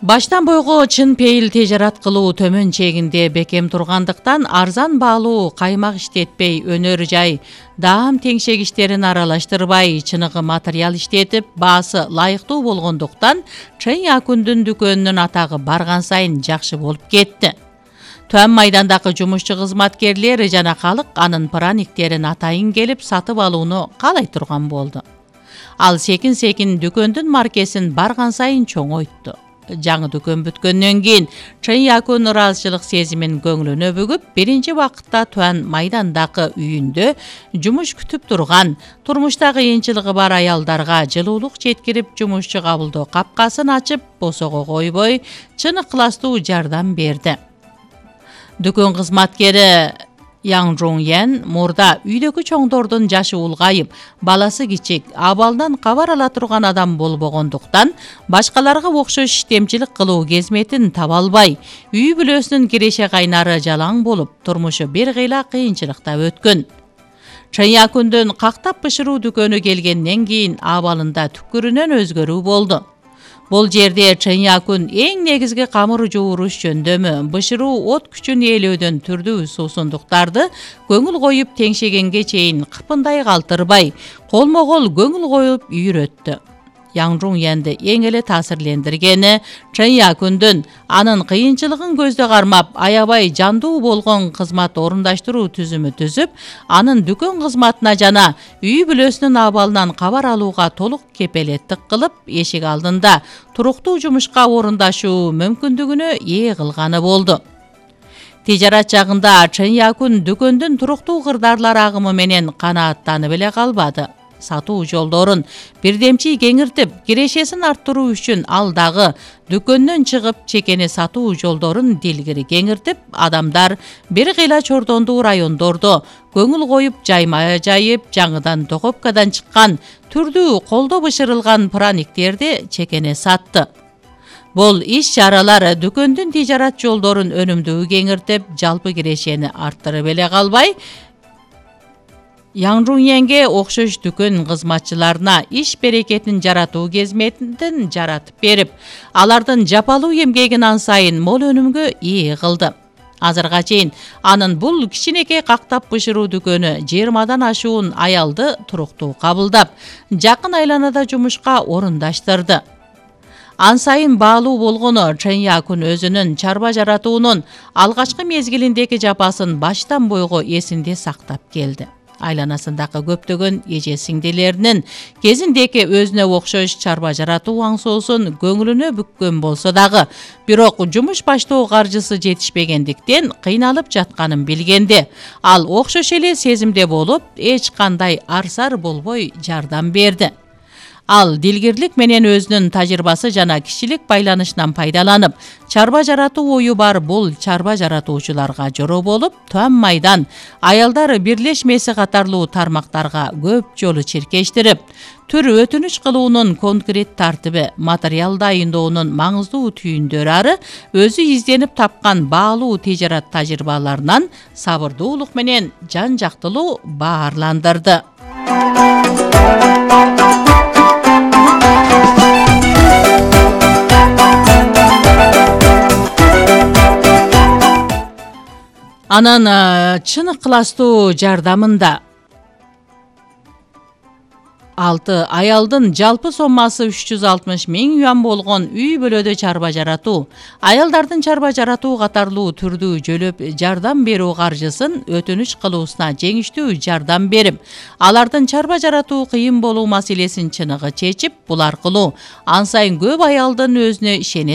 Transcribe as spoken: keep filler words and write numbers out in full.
Баштан бойго чын пейил тежарат кылуу төмөн чегинде бекем тургандыктан арзан баалуу каймак иштетпей, өнөр жай, даам теңшегичтерин аралаштырбай, чыныгы материал иштетип, баасы лайыктуу болгондуктан Чен Якундун дүкөнүнүн атагы барган сайын жакшы болуп кетти. Төм майдандагы жумушчу кызматкерлер жана калык анын праниктерин атайын келип сатып алууну каалай турган болду. Ал секин-секин дүкөндүн маркесин барган сайын чоңойтtu. Жаңы дүкөн бүткөндөн кийин Чен Якун ыраазычылык сезимин көңүлүнө бүгүп, биринчи убакытта Туан майдандагы үйүндө жумуш күтүп турган, турмуштагы кыйынчылыгы бар аялдарга жылуулук жеткирип, жумушчу кабылдоо капкасын ачып, босого койбой, чын ыкластуу жардам берди. Дүкөн кызматкери Yang Jong-yen мурда үйдөгү чоңдордун жашы улгайып, баласы кичик, абалдан кабар ала турган адам болбогондуктан, башкаларга окшош иштемчилик кылуу кезметин таба албай, үй бүлөсүнүн киреше кайнары жалаң болуп, турмушу бир кыйла кыйынчылыкта өткөн. Чен Якундун кактап бышыруу дүкөнү келгенден кийин абалында түкүрүнөн өзгөрүү болду. Бул жерде Чен Якун эң негизги камыр жууруш жөндөмү, бышыруу от күчүн ээлөөдөн түрдүү суусундуктарды көңүл коюп теңшегенге чейин кыпындай калтырбай, колмо-кол көңүл коюп үйрөттү. Yang Jong-yenди эң эле таасирлендиргени Чен Якундун анын кыйынчылыгын көздө кармап, аябай жандуу болгон кызмат орундаштыруу түзүмү түзүп, анын дүкөн кызматына жана үй бүлөсүнүн абалынан кабар алууга толук кепелеттик кылып, эшик алдында туруктуу жумушка орундашуу мүмкүндүгүнө ээ кылганы болду. Тижарат жагында Чен Якун дүкөндүн туруктуу кырдаарлар агымы менен канааттанып эле калбады. Сатуу жолдорун бирдемчи кеңиртип, кирешесин арттыруу үчүн ал дагы дүкөндөн чыгып, чекени сатуу жолдорун дилгири кеңиртип, адамдар бир кыйла чордондуу райондордо көңүл коюп жайма жайып, жаңыдан доковкадан чыккан түрдүү колдо бышырылган праниктерди чекене сатты. Бул иш-чаралар дүкөндүн тижарат жолдорун өнүмдүү кеңиртип, жалпы кирешени арттырып эле калбай, Yang Jong-yenге окшош дүкөн кызматчыларына иш берекетин жаратуу кезметин жаратып берип, алардын жапалуу эмгегин ан сайын мол өнүмгө ээ кылды. Азырга чейин анын бул кичинекей кактап бышыруу дүкөнү жыйырмадан ашуун аялды туруктуу кабылдап, жакын айланада жумушка орундаштырды. Ан сайын баалуу болгону Чен Якун өзүнүн чарба жаратуунун алгачкы мезгилиндеги жапасын баштан бойго эсинде сактап келди. Айланасындагы көптөгөн эже сиңдилеринин кезиндеки өзүнө окшош чарба жаратуу аңсоосун көңүлүнө бүккөн болсо дагы, бирок жумуш баштоо каржысы жетишпегендиктен кыйналып жатканын билгенде, ал окшош эле сезимде болуп, эч кандай арсар болбой жардам берди. Ал дилгирлик менен өзүнүн тажрыйбасы жана кишилик байланышынан пайдаланып, чарба жаратуу ою бар бул чарба жаратуучуларга жороо болуп, Туан майдан аялдар бирлешмеси катарлуу тармактарга көп жолу чиркештирип, түр өтүнүч кылуунун конкрет тартиби, материал дайындоонун маңыздуу түйүндөрү ары өзү изденип тапкан баалуу тижарат тажрыйбаларынан сабырдуулук менен жан жактылуу баарландырды. Анан чын ыкластуу жардамында алты аялдын жалпы соммасы үч жүз алтымыш миң юан болгон үй бүлөдө чарба жаратуу, аялдардын чарба жаратуу катарлуу түрдүү жөлөп жардам берүү каржысын өтүнүч кылуусуна жеңиштүү жардам берип, алардын чарба жаратуу кыйын болуу маселесин чыныгы чечип, бул аркылуу ан сайын көп аялдын өзүнө ишене